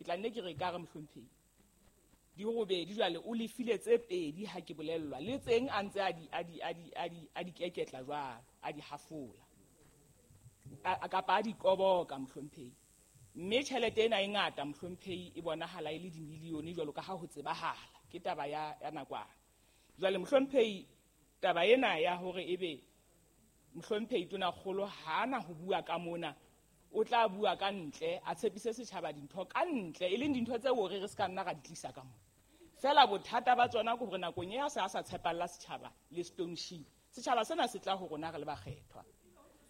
Ke tla nne ke re ka re mohlomphehi di robedi, jwale o lefile tse pedi ha ke bolellwa, le tseng a ntse a di keketla jwalo, a di hafola kapa a di koboka, mohlomphehi. Mme tjhelete ena e ngata, mohlomphehi, e bonahala e le dimilione jwalo ka ha ho tsebahala ke taba ya nakwana. Jwale mohlomphehi, taba ena ya hore ebe mohlomphehi tonakgolo ha ana ho bua ka mona, o tla bua ka ntle, a tshepise setjhaba dintho ka ntle, e leng dintho tseo re se ka nna ra di tlisa ka mona. Feela bothata ba tsona ke hore nakong e a se a sa tshepalla setjhaba le Stone Shee, setjhaba sena se tla ho rona re le bakgethwa,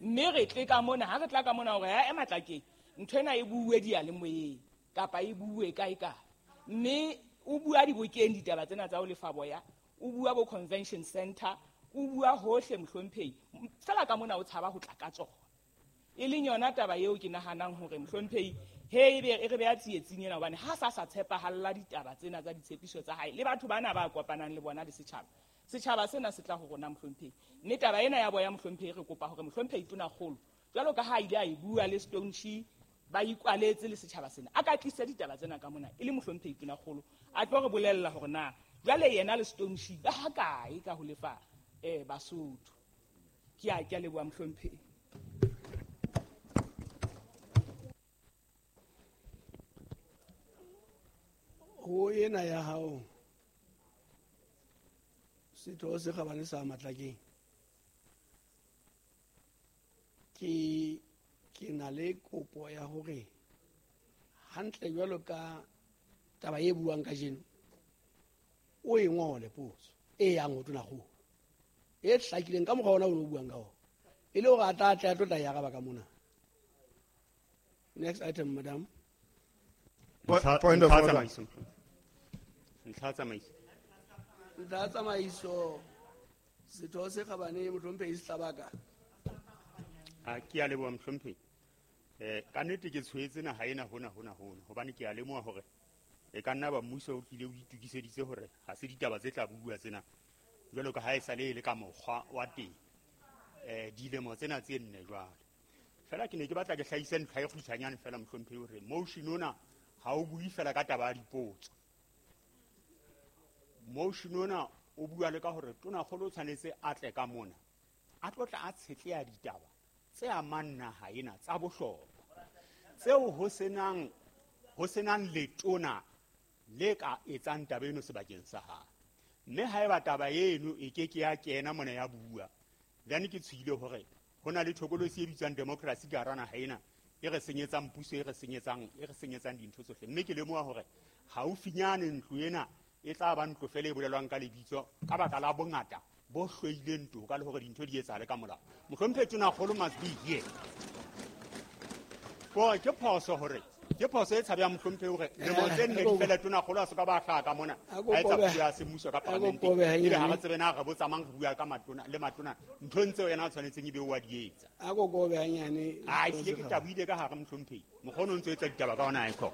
mme re tle ka mona. Ha re tla ka mona hore ya ema tlakeng, ntho ena e bue diyalemoyeng kapa e bue kae kae, mme o bua dibokeng ditaba tsena tsa ho lefa boya, o bua bo convention center, o bua hohle, mohlomphehi, fela ka mona o tshaba ho tla ka tsona. E leng yona taba eo ke nahanang hore mohlomphehi he ebe e re beha tsietsing ena, hobane ha sa tshepahalla ditaba tsena tsa ditshepiso tsa hae le batho bana ba kopanang le bona le setjhaba. Setjhaba sena se tla ho rona, mohlomphehi. Mme taba ena ya boya, mohlomphehi, re kopa hore mohlomphehi tonakgolo, jwalo ka ha a ile a e bua le Stone Shee, ba ikwaletse le setjhaba sena, a ka tlisa ditaba tsena ka mona e le mohlomphehi tonakgolo, a tlo re bolella hore na jwale yena le Stone Shee ba ha kae ka ho lefa Basotho. Ke a leboha, mohlomphehi. Ho ena ya hao, setho se kgabane sa Matlakeng, ke na le kopo ya hore hantle jwalo ka taba e buang kajeno, o e ngole potso e yang ho tonakgolo e hlakileng ka mokgwa ona o ne o buang ka ona, e le hore a tla tle a tlo tla e araba ka mona. Next item, madam. Point of Ntlha order. tsamaiso. Ntlha tsamaiso. Ntlha tsamaiso, setho se kgabane mohlomphehi Sehlabaka. A ke a leboha, mohlomphehi. Ka nnete ke tshwetse naha ena hona hona hona, hobane ke a lemoha hore e ka nna ba mmuso o tlile o itokiseditse hore ha se ditaba tse tla bua tsena jwalo ka ha e sale e le ka mokgwa wa teng dilemo tsena tse 4 jwale. Fela ke ne ke batla ke hlahise ntlha e kgutshwanyane fela, mohlomphehi, hore motion ona ha o bue fela ka taba ya dipotso. Motion ona o bua le ka hore tonakgolo o tshwanetse a tle ka mona, a tlo tla a tshetleha ditaba tse amang naha ena tsa bohlokwa, tseo ho senang letona le ka etsang taba eno sebakeng sa hae. Mme haeba taba eno e ke ke ya kena mona ya bua, then ke tshohile hore ho na le thokolosi e bitswang democracy ka hara naha ena e re senyetsang puso, e re senyetsang dintho tsohle. Mme ke lemoha hore haufinyane ntlo ena e tla ba ntlo fela e bolelwang ka lebitso ka baka la bongata bo hloileng toka le hore dintho di etsahale ka molao. Mohlomphehi tonakgolo must be here. Kore ke phoso, hore ke phoso e tshabehang, mohlomphehi, hore lemo tse 4 di fele tonakgolo a se ka ba hlaha ka mona A ko a etsa kobe- puo ya semmuso ka a ko parlamenteng, kobe ebe ha hanyane. re tsebe na re botsa mang, re bua ka matona le matona nthong tseo yena a tshwanetseng ebe o wa di etsa. A ko kobe hanyane. A setho ehlile se ke kgabane. taboile ka hare, mohlomphehi. Mokgwa o ntso etsa ditaba ka ona aekho.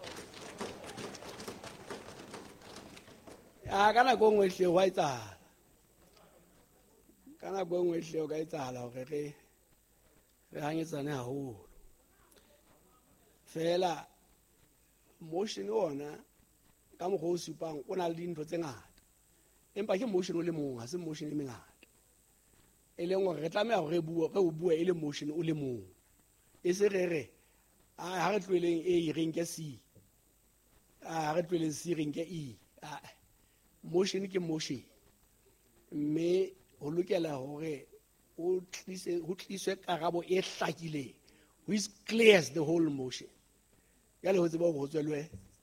A ka nako e nngwe ehlile hwa etsahala, ka nako e nngwe ehlile ho ka etsahala hore re hanyetsane haholo. Fela motion ona ka mokgwa o supang o na le dintho tse ngata, empa ke motion o le mong, ha se motion e mengata, e leng hore re tlameha hore re o bue e le motion o le mong, e se re ha re tloheleng A, re nke C, ha re tloheleng C, re nke E. Ah, motion ke motion, mme ho lokela hore o tlise ho tliswe karabo e hlakileng which clears the whole motion, jwale ho tseba hore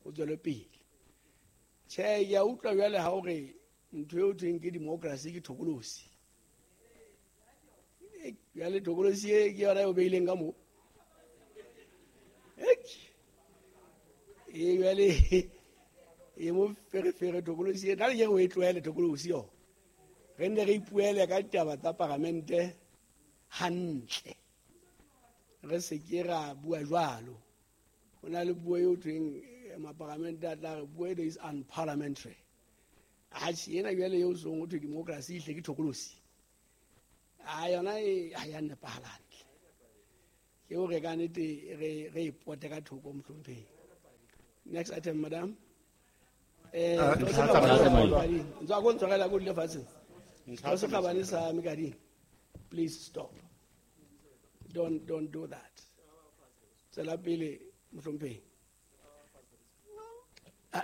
ho tswelwe pele. Tjhe, ke a utlwa jwale ha hore ntho eo thweng ke democracy ke thokolosi. Jwale thokolosi e ke yona e o beileng ka moo. Ek. E jwale e mo ferefere thokolosi e nna le ke re o e tlohele thokolosi yona, re nne re ipuele ka ditaba tsa paramente hantle, re se ke ra bua jwalo. Ho na le puo eo thweng maparamente a tla re puo eno is unparliamentary. Atjhe, ena jwale eo song ho thwe democracy ehle ke thokolosi, a yona e ha ya nepahala hantle. Ke hore ka nnete re e pote ka thoko, mohlomphehi. Next item, madam. Please stop. Don't do that. Tswela pele, mohlomphehi.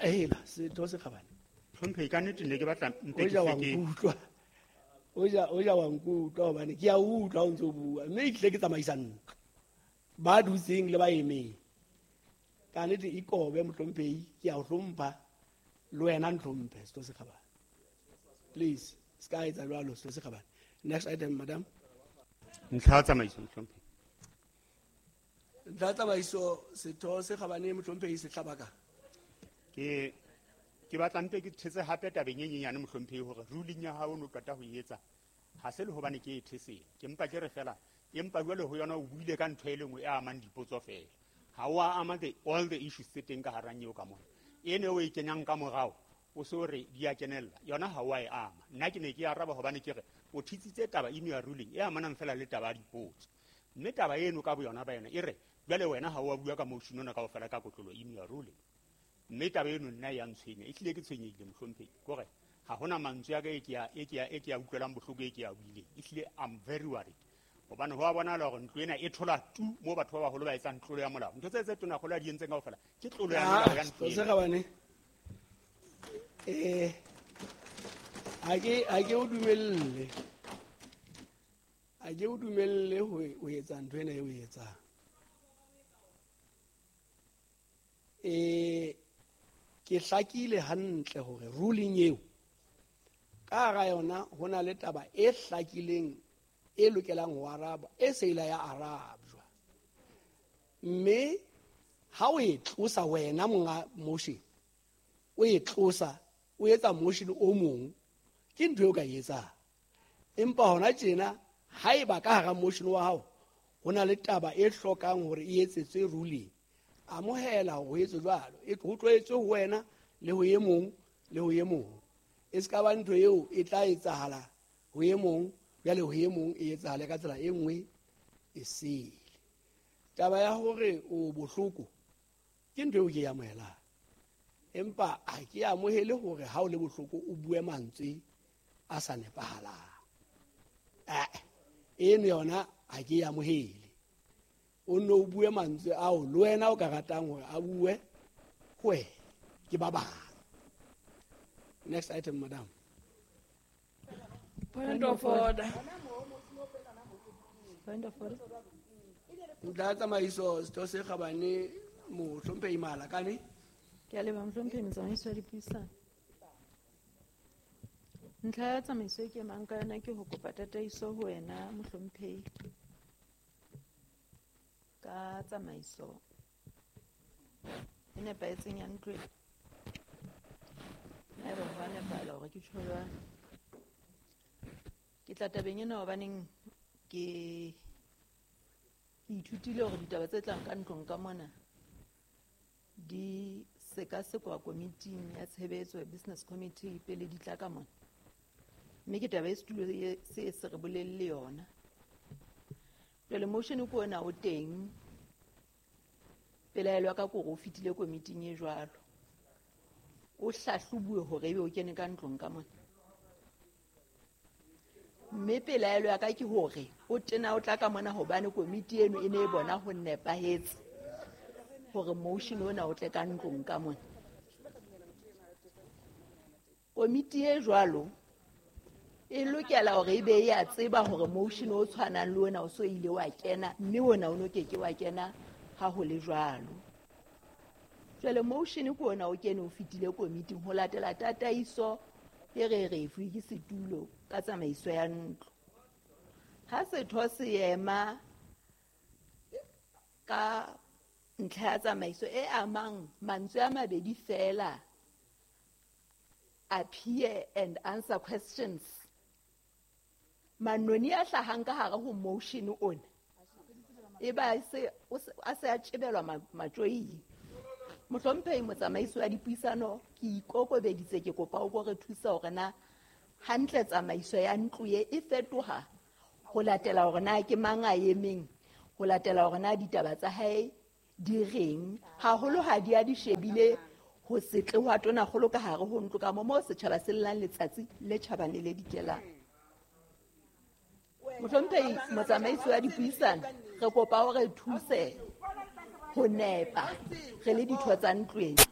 Hela, setho se kgabane. Mohlomphehi, ka nnete ne ke batla mpe O ke ja wa se ke nkutlwa. O ja wa nkutlwa hobane ke a utlwa ha o ntso bua, mme ehlile ke tsamaisa ntlo. Ba dutseng le ba emeng. Ka nnete ikobe, mohlomphehi, ke a o hlompha, le wena ntlhomphe, setho se kgabane. Please, se ka etsa jwalo, setho se kgabane. Next item, madam. Ntlha ya tsamaiso, mohlomphehi. Ntlha ya tsamaiso, setho se kgabane, mohlomphehi Sehlabaka. Ke batla mpe ke thetse hape tabeng e nyenyane, mohlomphehi, hore ruling ya hao o no qeta ho e etsa ha se le hobane ke e thesela. Ke mpa ke re fela, empa jwale ho yona o buile ka ntho e le nngwe e amang dipotso fela. Ha o a ama all the issues tse teng ka hara nyeo ka mona. Ene o e kenyang ka morao, o so re di a kenella. Yona ha o a e ama. Nna ke ne ke araba hobane ke re o thitsitse taba eno ya ruling e amanang fela le taba ya dipotso. Mme taba eno ka boyona ba yona e re jwale wena ha o a bua ka motion ona kaofela ka kotlolo eno ya ruling. Mme taba eno nna ya ntshwenya, ehlile ke tshwenyehile, mohlomphehi. Ke hore ha hona mantswe a ka e ke a, e ke a, e ke a utlwelang bohloko e ke a buileng. Ehlile I'm very worried. Hobane ho a bonahala hore ntlo ena e thola tu moo batho ba baholo ba etsang tlolo ya molao. Ntho tse tonakgolo a di entseng kaofela ke tlolo ya molao ya ntlo Setho se ena. kgabane. Ha ke o dumelle. Ha ke o dumelle ho etsa ntho ena e o e etsang. Ke hlakile hantle hore ruling eo ka hara yona ho na le taba e hlakileng e lokelang ho araba, e se ile ya arabjwa. Mme ha o e tlosa wena monga motion, o e tlosa, o etsa motion o mong, ke ntho eo ka e etsang. Empa hona tjena haeba ka hara motion wa hao ho na le taba e hlokang hore e etsetswe ruling, amohela hore ho etswe jwalo, ho tlo etswe ho wena le ho e mong le ho e mong. E se ka ba ntho eo e tla etsahala ho e mong, jwale ho e mong e etsahale ka tsela e nngwe e sele. Taba ya hore o bohloko ke ntho eo ke e amohelang, empa ha ke amohele hore ha o le bohloko o bue mantswe a sa nepahalang. Eno yona ha ke e amohele. O nno o bue mantswe ao le wena o ka ratang hore a bue ho wena ke ba bang. Next item, madam. Point of order. Point of order. Ntlha ya tsamaiso, setho se kgabane, mohlomphehi Malakane. Ke a leboha, mohlomphehi motsamaisi wa dipuisano. Ntlha ya tsamaiso e ke emang ka yona ke ho kopa tataiso ho wena, mohlomphehi, ka tsamaiso e nepahetseng ya ntlo ena. Haeba ho a nepahala hore ke tjho jwalo. Ke tla tabeng ena hobaneng ke ithutile hore ditaba tse tlang ka ntlong ka mona di sekasekwa komiting ya tshebetso ya business committee pele di tla ka mona. Mme ke taba e setulo se se re bolelle yona. Jwale motion ke ona o teng. Pelaelo ya ka ke hore o fetile komiting e jwalo. O hlahlobuwe hore ebe o kene ka ntlong ka mona. Mme pelaelo ya ka ke hore o tena o tla ka mona hobane komiti eno e ne e bona ho nepahetse hore motion ona o tle ka ntlong ka mona. Komiti e jwalo e lokela hore e be e a tseba hore motion o tshwanang le ona o so ile wa kena, mme ona o no keke wa kena ha ho le jwalo. Jwale motion ke ona o kene o fetile komiting ho latela tataiso e re re e fuwe ke setulo ka tsamaiso ya ntlo. Ha setho se ema ka ntlha ya tsamaiso e amang mantswe a mabedi fela, appear and answer questions, manoni a hlahang ka hare ho motion ona e ba se a se a tjebelwa matjoing. Mohlomphehi motsamaisi wa dipuisano, ke ikokobeditse, ke kopa o ko re thusa hore na hantle tsamaiso ya ntlo e e fetoha ho latela hore na ke mang a emeng, ho latela hore na ditaba tsa hae di reng, haholo ha di a di shebile ho se tle hwa tonakgolo ka hare ho ntlo ka moo setjhaba se llang letsatsi le tjhabang le le dikelang. Mohlomphehi motsamaisi wa dipuisano, re kopa o re thuse ho nepa re le ditho tsa ntlo ena.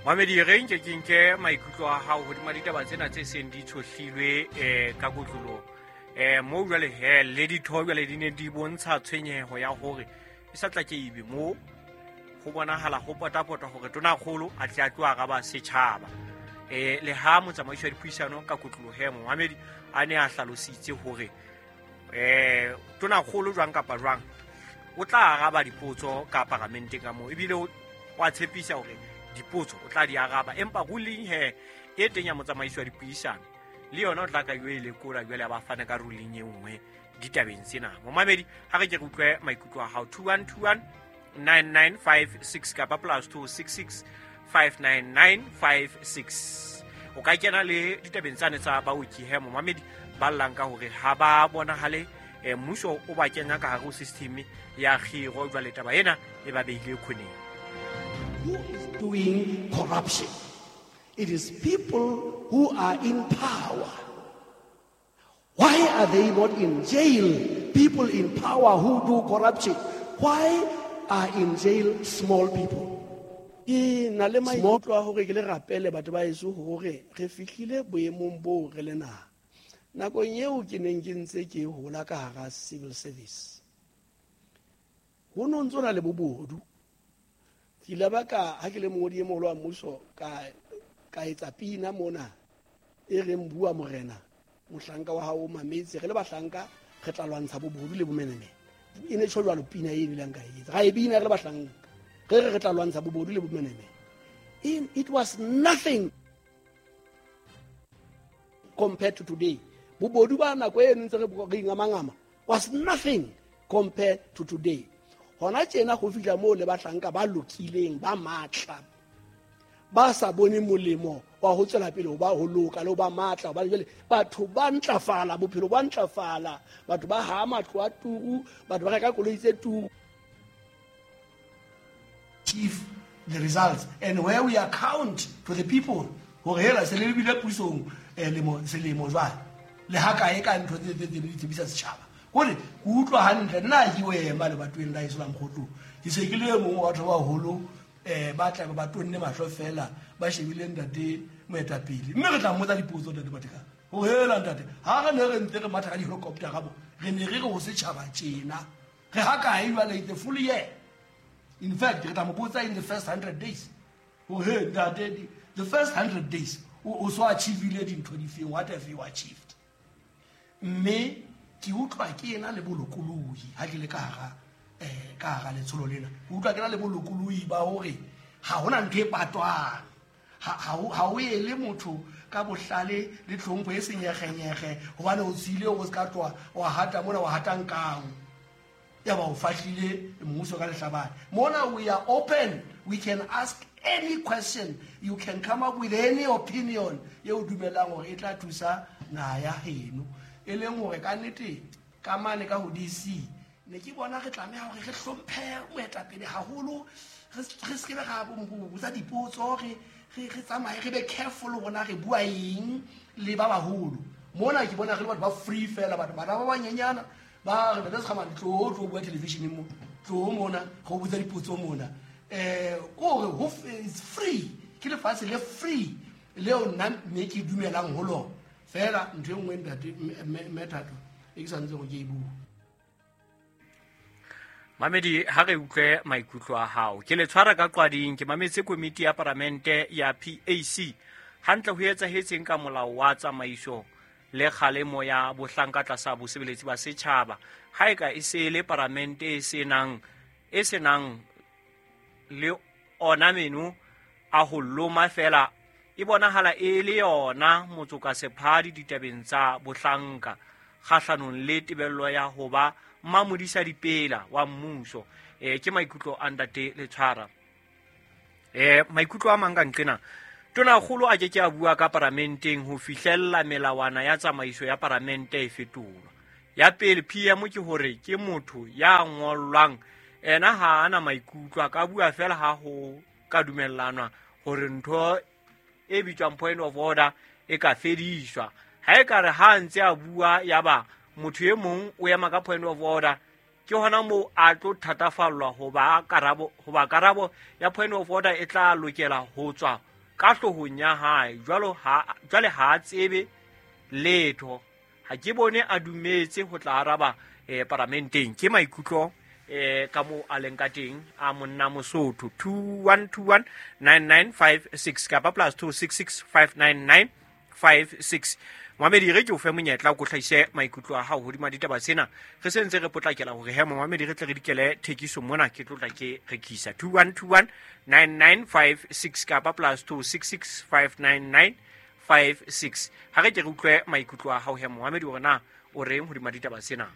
Mamedi, re nke ke nke maikutlo a hao hodima ditaba tsena tse seng di tshohlilwe ka kotloloho. Moo jwale he le ditho jwale di ne di bontsha tshwenyeho ya hore e sa tla ke ebe moo ho bonahala ho potapota hore tonakgolo a tle a tlo araba setjhaba. Le ha motsamaisi wa dipuisano ka kotloloho he Mohamedi a ne a hlalositse hore tonakgolo jwang kapa jwang o tla araba dipotso ka paramenteng ka moo, ebile o a tshepisa hore dipotso o tla di araba, empa ruling he e teng ya motsamaisi wa dipuisano le yona o tla ka yo e lekola jwale a ba fana ka ruling e nngwe ditabeng tsena. Momamedi, ha re ke re utlwe maikutlo a hao 2121 9956 kapa +266 59956. O ka kena le ditabeng tsane tsa baoki he momamedi ba llang ka hore ha ba bonahale mmuso o ba kenya ka hare ho system ya kgiro, jwale taba ena e ba behile khoneng. Who is doing corruption? It is people who are in power. Why are they not in jail? People in power who do corruption. Why are in jail small people? Ke na le maikutlo a hore ke le rapele batho ba heso hore re fihlile boemong boo re le naha. Nakong eo ke neng ke ntse ke hola ka hara civil service, ho no ntso na le bobodu. Ke ile ba ka ha ke le mongodi e moholo wa mmuso ka etsa pina mona e reng bua morena mohlanka wa hao o mametse, re le bahlanka re tla lwantsha bobodu le bomenemene. E ne tjho jwalo pina e bileng ka etsa, ra e bina re le bahlanka re re tla lwantsha bobodu le bomenemene. It was nothing compared to today. Bobodu ba nako e ntse re ingamangama was nothing compared to today. Hona tjena ho fihla moo le bahlanka ba lokileng ba matla ba sa bone molemo wa ho tswela pele ho ba ho loka le ho ba matla, hobane jwale batho ba ntlafala, bophelo ba ntlafala, batho ba ha matlo a turu, batho ba reka koloi tse turu. Chief the results and where we account to the people hore hela se le bile pusong selemo jwale le ha kae ka ntho tse tse di tsebisa setjhaba. Hore ke utlwa hantle nna ke o ema le batweng la Islam Kgotlong, ke se ke le mong wa batho ba baholo ba tla ba tonne mahlo fela ba shebile ntate moetapele, mme re tla mmotsa dipotso ntate Mathekga ho hela ntate ha re ne re ntse re matha ka di-helicopter ka bo re ne re re ho setjhaba tjena re ha kae jwale the full year. In fact re tla mo botsa in the first 100 days ho he ntate the first 100 days o so achievile dintho difeng, what have you achieved? Mme ke utlwa ke ena le bolokolohi ha ke le ka hara letsholo lena, ke utlwa ke na le bolokolohi ba hore ha hona ntho e patwang, ha o ele motho ka bohlale le tlhompho e senyegenyege hobane o tsile o se ka tloha wa hata mona wa hata nkao ya ba o fahlile mmuso ka lehlabane. Mona we are open, we can ask any question, you can come up with any opinion e o dumelang hore e tla thusa naha ya heno. E leng hore ka nnete ka mane ka ho DC ne ke bona re tlameha hore re hlomphe moetapele haholo, re se ke ra botsa dipotso, re tsamaye re be careful rona re bua eng le ba baholo. Mona ke bona re le batho ba free fela, batho bana ba banyenyana ba re ntate Sekgamane tlo tlo bua television mo, tlo mona go botsa dipotso mona. Kore ho it's free, ke lefatshe le free leo nna mme ke dumelang ho lona. Fela ntho e nngwe ntate Mmethato e ke santseng ke e bua. Mamedi, ha re utlwe maikutlo a hao. Ke le tshwara ka qwading, ke mametse komiti ya paramente ya PAC. Hantle ho etsahetseng ka molao wa tsamaiso le kgalemo ya bohlanka tlasa bosebeletsi ba setjhaba. Ha e ka e se le paramente e senang le ona meno a ho loma fela, e bonahala e le yona motsoka sephadi ditabeng tsa bohlanka kgahlanong le tebello ya ho ba mmamodisa dipela wa mmuso. Ke maikutlo a ntate Letshwara. Maikutlo a mang ka nqena, tonakgolo a ke ke a bua ka paramenteng ho fihlella melawana ya tsamaiso ya paramente e fetolwa. Ya pele PM ke hore ke motho ya ngollwang, ena ha ana maikutlo, a ka bua fela ha ho ka dumellanwa hore ntho e bitswang point of order e ka fediswa. Ha e ka re ha ntse a bua yaba motho e mong o ema ka point of order, ke hona moo a tlo thatafallwa hoba karabo ya point of order e tla lokela ho tswa ka hloohong ya hae. Jwale ha a tsebe letho, ha ke bone a dumetse ho tla araba paramenteng. Ke maikutlo ka moo a leng ka teng a monna Mosotho. 2121 9956 kapa +266 599 56. Mohamedi, re ke o fe monyetla o ko hlahise maikutlo a hao hodima ditaba tsena. Re se ntse re potlakela hore he Mohamedi re tle re dikele thekiso mona, ke tlotla ke rekisa. 2121 9956 kapa +266 599 56. Ha re ke re utlwe maikutlo a hao he Mohamedi hore na o reng hodima ditaba tsena.